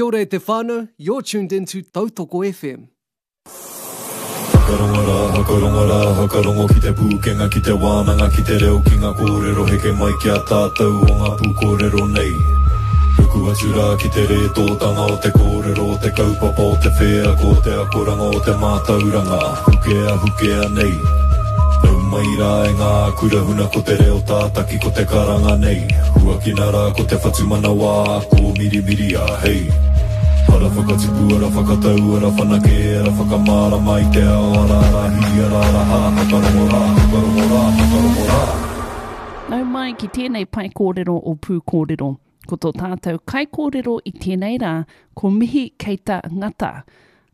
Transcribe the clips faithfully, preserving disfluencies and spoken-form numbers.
Kia ora e te whānau, you're tuned into Tautoko FM. Whakarongo rā, whakarongo rā, whakarongo ki te pūkenga, ki te wānanga, ki te reo, ki ngā kōrero heke mai ki a tātou o ngā pūkōrero nei. Ruku atu rā ki te rētōtanga o te kōrero, o te kaupapa, o te wheako, o te akoranga, o te mātauranga, hukea, hukea nei. Nau mai rā e ngā kura huna ko te reo tātaki ko te karanga nei. Huakina rā ko te whatumanawa, ko mirimiria, hei. Ara whakatipu, ara whakatau, ara whanake, ara whakamārama i te ao, ara ara hi, ara ara ha, whakarongo rā, whakarongo rā, whakarongo rā. Nau mai ki tēnei pae kōrero o Pūkōrero. Ko tō tātou kaikōrero i tēnei rā, ko Mihi Keita Ngata.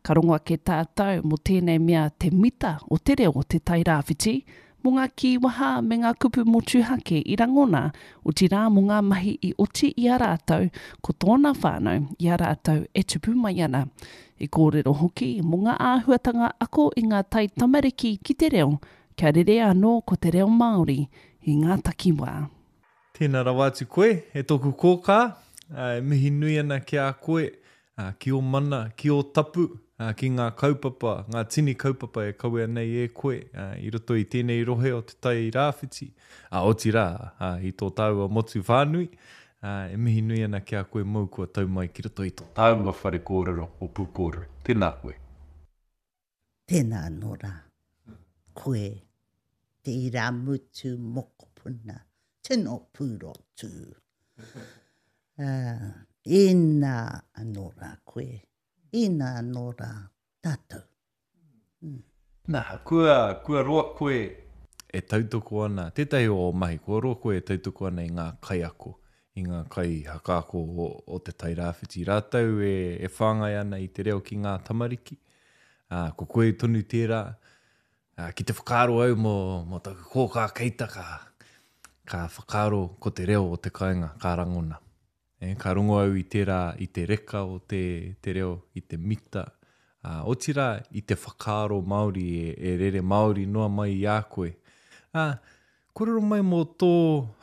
Ka rongo ake tātou mō tēnei mea te mita o te reo o Te Tairāwhiti, mō ngā kīwaha me ngā kupu motuhake i rangona, otirā mō ngā mahi i oti i a rātou, ko tōna whānau i a rātou e tupu mai ana. I kōrero hoki mō ngā āhuatanga ako i ngā taitamariki ki te reo, kia rere anō ko te reo Māori i ngā takiwā. Tēnā rawa atu koe, e tōku kōkā, e mihi nui ana ki a koe, ki ō mana, ki ō tapu, ki ngā kaupapa, ngā tini kaupapa e kawea nei e koe i roto i tēnei rohe o Te Tai Rāwhiti, otirā, i tō tāua motu whānui, e mihi nui ana ki a koe mōu kua tau mai ki roto i tō tāua whare kōrero o Pūkōrero. Tēnā koe. Tēnā anō rā, koe te irāmutu mokopuna, tino pūrotu. Uh, ina anō rā koe, ina anō rā tātou. Mm. Nā, kua, kua roa koe e tautoko ana, tētahi o ō mahi, kua roa koe e tautoko ana i ngā kaiako, i ngā kaihakaako o, o Te Tairāwhiti. Rātou e, e whāngai ana i te reo ki ngā tamariki. Uh, ko koe tonu tērā, uh, ki te whakaaro au mō, mō taku kōkā Keita ka, ka whakaaro ko te reo o te kāinga, ka rangona. E, ka rongo au i tērā, i te reka o te, te reo, i te mita, uh, otirā i te whakaaro Māori e, e rere Māori noa mai i a koe. Uh, kōrero mai mō tō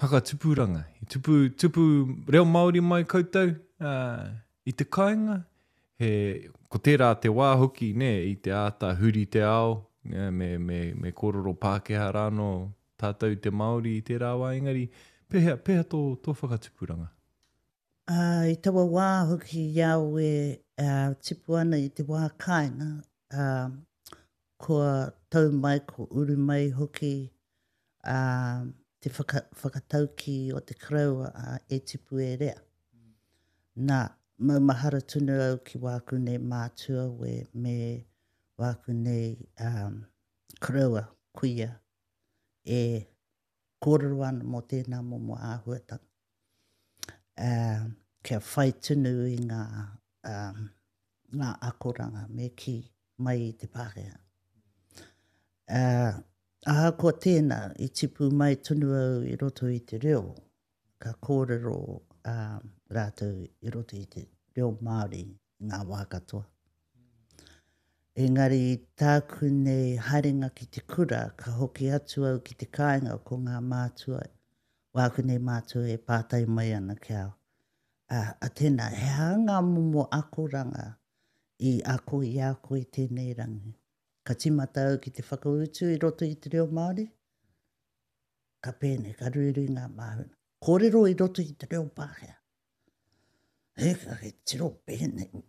whakatupuranga. I tupu, tupu reo Māori mai koutou uh, i te kāinga. He, ko tērā te wā hoki, ne, i te āta huri te ao, ne, me, me, me kōrero Pākehā rānō tātou te Māori i tērā wā, engari, pēhea, pēhea tō, tō whakatupuranga? Uh, i taua wā hoki i au e uh, tipu ana i te wā kāinga, uh, kua tau mai, ko uru mai hoki uh, te whaka, whakatauki o te koroua uh, e tipu e rea. Nā, maumahara tonu au ki wāku nei mātua we, me wāku nei um, koroua, kuia, e kōrero ana mō tēnā momo āhuatanga. Uh, kia whai tonu i ngā, um, ngā akoranga me ki mai i te Pākehā. Uh, ahakoa tēnā, i tipu mai tonu au i roto i te reo, ka kōrero uh, rātou i roto i te reo Māori i ngā wā katoa. Engari tāku nei haerenga ki te kura, ka hoki atu au ki te kāinga ko ngā mātua, wāku nei mātua e pātai mai ana ki au. A, a tēnā, he aha ngā momo akoranga i ako i a koe tēnei rangi. Ka tīmata au ki te whakautu i roto i te reo Māori, ka pēnei, ka ruirui ngā māhuna. Kōrero i roto i te reo Pākehā. E, ka he tiro pēnei,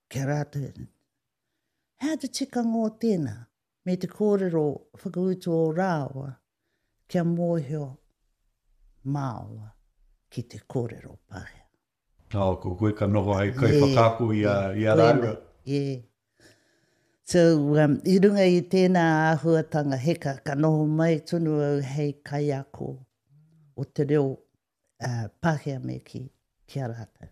kia rātou. He aha te tikanga o tēnā, me te kōrero whakautu o rāua, kia mōhio māua ki te kōrero Pākehā. Oh, ko koe ka noho hei kaiwhakaako i a, i a rāua. Yeah. So, um, i runga i tēnā āhuatanga heka, ka noho mai tonu au hei kaiako o te reo uh, Pākehā me ki, ki a rātou.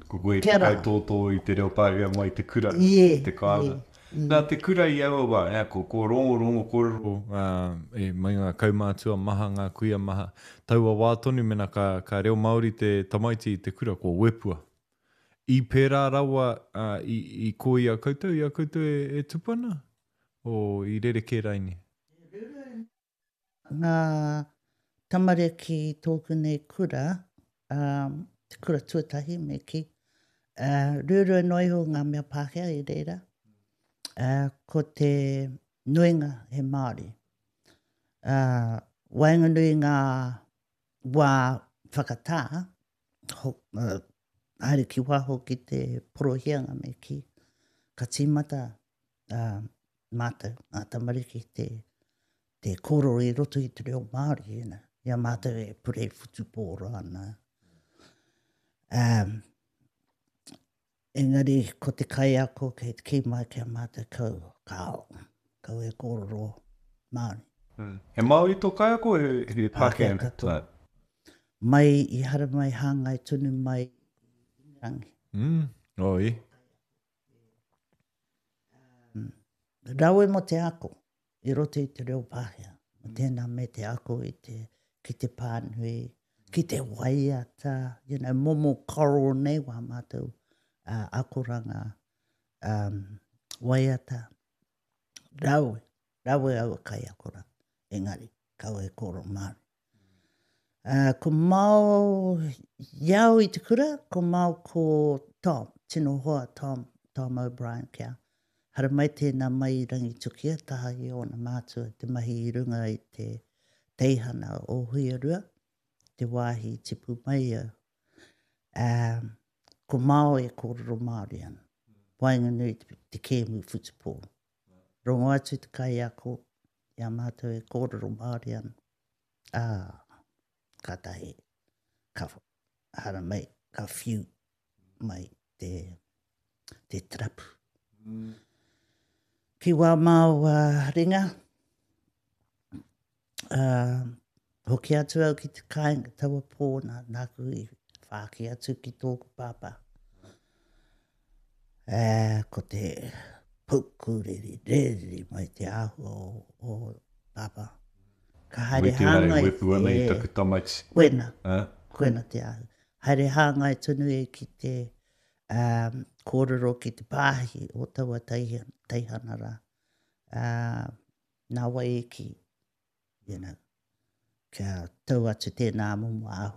Ko koe te kaitōtō i te reo Pākehā mai te kura, yeah, te kāinga. Yeah. Mm. Nā te kura i aua wā, eh, ko, ko rongo, rongo kōrero. Uh, e mai ngā kaumātua maha, ngā kuia maha. Taua wā tonu mena ka, ka reo Māori te tamaiti i te kura, ko wepua. I pērā rawa uh, i, i ko i a koutou, i a koutou e, e tupu ana? O i rerekē raini? Ngā tamariki tōku nei kura, um, te kura tuatahi me ki, Uh, ruarua noa iho ngā mea Pākehā i reira. Uh, ko te nuinga he Māori. Uh, waenganui ngā wā whakatā, ho, uh, haere ki waho ki te porohianga me kī, ka tīmata uh, mātou, ngā tamariki, te, te kōrero i roto i te reo Māori, you know, i a mātou e purei whutupōro ana. Um, engari ko te kaiako kei te kī mai ki a mātou kau, kāo, kau e kōrero Māori. Mm. He Māori tō kaiako, he, he Pākehā? Pākehā katoa. Mai i haramai hāngai tonu mai i Ingarangi. Mm. Oh, e. Um, rawe mo te ako i roto i te reo Pākehā. Mo tēnā me te ako i te, ki te pānui, ki te waiata, you know, momo choral nei wā mātou uh, akoranga um, waiata. Rawe, rawe aua kaiako rā, engari, kaua e kōrero Māori. Uh, ko Mao, i au i te kura, ko Mao ko Tom, tino hoa Tom, Tom O'Brien kia. Haramai tēnā mai i Rangitukia, taha i ōna mātua te mahi i runga i te teihana o Huiarua, te wāhi i tipu mai au. Um, ko Mao e kōrero Māori ana, waenganui te, te kēmu whutupōro. Rongo atu te kaiako i a mātou e kōrero Māori ana. Ā, kātahi, ka haramai, ka whiu mai te, te tarapu. Mm. Ki wā māu uh, ringa, uh, hoki atu au ki te kāinga taua pō nā, nāku i whāki atu ki tōku pāpā. Uh, ko te pukuriri, rerere mai te āhua o, o pāpā. Ka haere Witi rā e hāngai, wepu ana i e, taku tamaiti. Koena, Eh? koena te āhua. Haere hāngai tonu e ki te um, kōrero ki te pāhi o taua teihana, teihana rā. Uh, nā wai e ki, you know, kia tau atu tēnā momo āhua.